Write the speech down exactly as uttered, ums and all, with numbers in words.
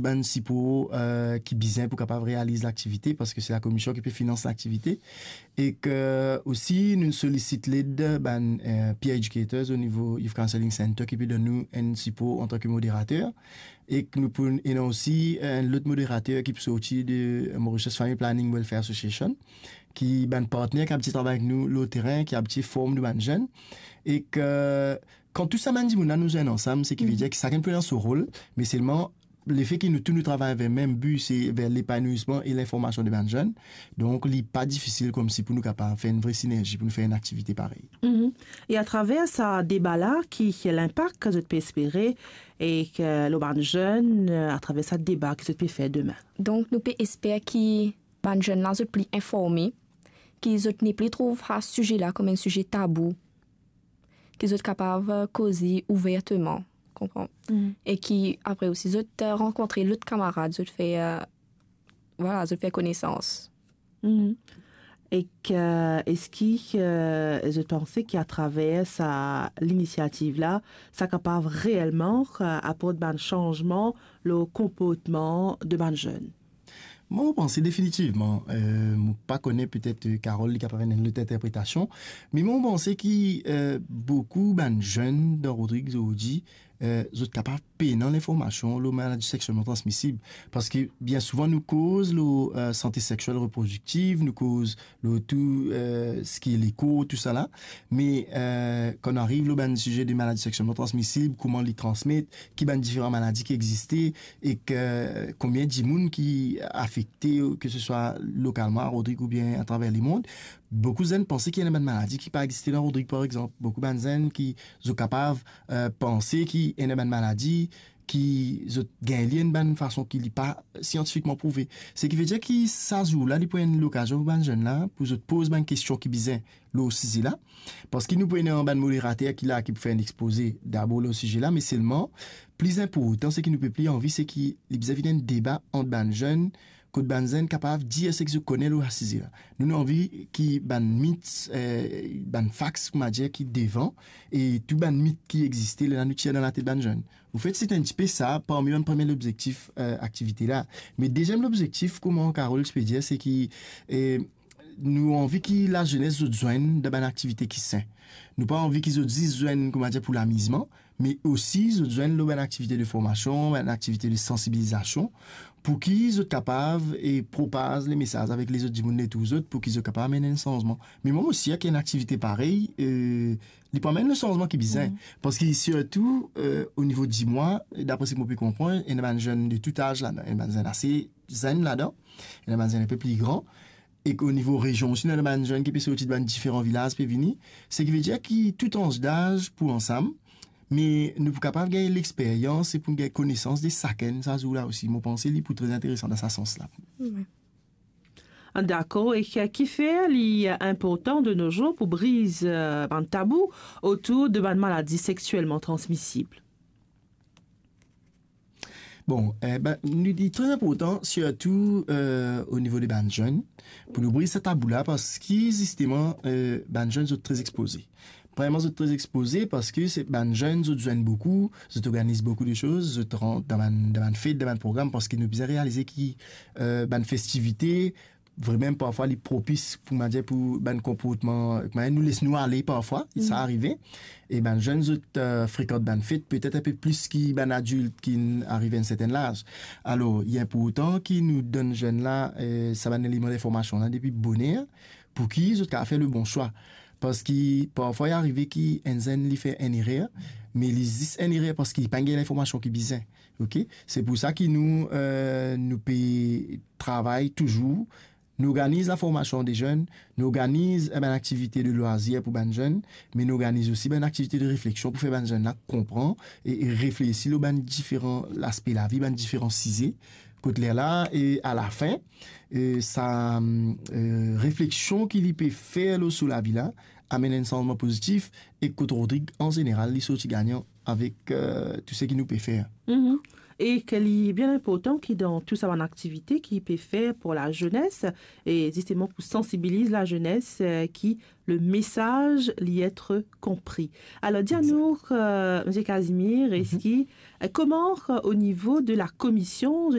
bann sipor, eh, ki bizin pou kapav realiz laktivite, parski se lakomision ki pe finans laktivite. Ek osi, nou solisit led bann, eh, peer educators o nivo Youth Counselling Center ki pe donn nou enn sipor antanke moderater. Ek nou pou ena osi enn lot moderater ki pou sorti de Mauritius Family Planning Welfare Association, ki bann partner ki abitie travay avek nou lor terin, ki abitie form nou bann zenn. Ek, eh, kan tou sa bann dimoun la nou zwenn ansam, seki vedir ki sakenn pou ena so rol, me selman lefe ki nou tou nou travay ver mem bi, se ver lepanouisman e linformasion de bann zenn. Donk, li pa difisil koumsi pou nou kapav fer enn vre sinerzi, pou nou fer enn aktivite parey. Mhm. E atraver sa deba la, ki linpak ki zot pe espere e ki lor bann zenn, eh, atraver sa deba ki zot pe fer demin? Donk, nou pe esper ki bann zenn la, zot pli informe, ki zot nepli trouv sa size la kom enn size tabou, ki zot kapav, eh, koze ouverteman, konpran? Mhm. E ki apre osi zot, eh, rankontre lot kamarad, zot fer, eh, vwala, zot fer konesans. Mhm. Ek eski, eh, zot panse ki atraver sa linisiativ la, sa kapav reelman, eh, aport bann sanzman lor konportman de bann zenn? Mwa, mo panse definitivman, eh, mo pa kone, petet, eh, Carole, li kapav ena enn lot interpretasion, me mwa, mo panse ki, eh, boukou bann zenn dan Rodrig zordi, eh, zot kapav pena linformasion lor maladi sekselman transmisib. Parski bien souvan nou koz lor, eh, sante seksiel reprodiktiv, nou koz lor tou, eh, seki lekor, tou sa la. Me, eh, kan nou ariv lor bann size de maladi sekselman transmisib, kouma li transmet, ki bann diferan maladi ki existe, ek konbien dimoun ki afekte, ke se swa lokalman a Rodrig oubien atraver lemond, boukou zenn panse ki ena bann maladi ki pa existe dan Rodrig, par exanp. Boukou bann zenn ki zot kapav, eh, panse ki ena bann maladi ki zot gagn li enn bann fason ki li pa siantifikman prouve. Seki vedir ki sa zour la, li pou enn lokazion pou bann zenn la, pou zot poz bann kestion ki bizin lor size la. Parski nou pou ena bann moderater ki la, ki pou fer enn expoze dabor lor size la, me selman, pli inportan, seki nou pe pli anvi, seki li bizin vinn enn deba ant bann zenn, kot bann zenn kapav dir seki zot kone lor sa size la. Nou, nou anvi ki bann mit, eh, bann fax, kouma dir, ki devan, e tou bann mit ki existe, lerla nou tir dan latet bann zenn. Anfet, se enn tipe sa, parmi bann premie lobzektif, eh, aktivite la. Me deziem lobzektif, kouma Carole ti pe dir, seki, eh, nou anvi ki lazenes zot zwenn dan bann aktivite ki sin. Nou pa anvi ki zot zis zwenn, kouma dir, pou lamizman, me osi zot zwenn lor bann aktivite de formasion, bann aktivite de sansibilizasion, pou ki zot kapav e propaz lemesaz avek lezot dimoun letour zot, pou ki zot kapav amenn enn sanzman. Me mwa, mo sir ki enn aktivite parey, eh, li pou amenn le sanzman ki bizin. Parski sirtou, eh, o nivo dimwa, dapre seki mo pe konpran, ena bann zenn de tou az ladan, ena bann zenn ase zenn ladan, ena bann zenn enpe pli gran, ek o nivo rezion osi, nou ena bann zenn ki pe sorti de bann diferan vilaz, pe vini. Seki vedir ki tou tranz daz pou ansam, me nou pou kapav gagn lexperyans e pou nou gagn konesans de sakenn sa zour la osi. Mo panse li pou tre interesan dan sa sans la. Wi. Dakor, e ki, kifer li inportan de nos jours pou briz, eh, bann tabou otour de bann maladi sekselman transmisib? Bon, eh ben, nou, li tre inportan, sirtou, eh, o nivo de bann zenn, pou nou briz sa tabou la, parski zisteman, eh, bann zenn zot tre expoze. Premierman, zot tre expoze parski se bann zenn, zot zwenn boukou, zot organiz boukou de soz, zot rant dan bann, dan bann fet, dan bann program, parski nou bizin realize ki, eh, bann festivite, vremem parfwa li propis pou, kouma dir, pou bann konportman, kouma dir, nou les nou ale parfwa, sa arive. E bann zenn zot, eh, frekant bann fet, petet enpe plis ki bann adilt ki ariv enn sertenn laz. Alor, li inportan ki nou donn zenn la, eh, sa bann eleman linformasion la depi boner, pou ki zot kapav fer le bon swa. Parski parfwa li arive ki enn zenn li fer enn erer, me li zis enn erer parski li pa gagn linformasion ki bizin. Ok? Se pou sa ki nou, eh, nou pe travay touzour. Nou organiz laformasion de zenn, nou organiz, eh, bann aktivite de lwazir pou bann zenn, me nou organiz osi bann aktivite de refleksion pou fer bann zenn la konpran e, e reflesi lor bann diferan laspe lavi, bann diferan size. Kot lerla, e alafin, eh, sa, eh, refleksion ki li pe fer lor so lavi la, amenn enn sanzman pozitif, e kot Rodrig, an zeneral, li sorti gagnan avek, eh, tou seki nou pe fer. Mhm. E ke li bien inportan ki dan tou sa bann aktivite ki pe fer pou lazenes, e zisteman pou sansibiliz lazenes, eh, ki le mesaz li etre konpri. Alor, dir anou, eh, Msye Casimir, eski, eh, kouma, eh, o nivo de lakomision,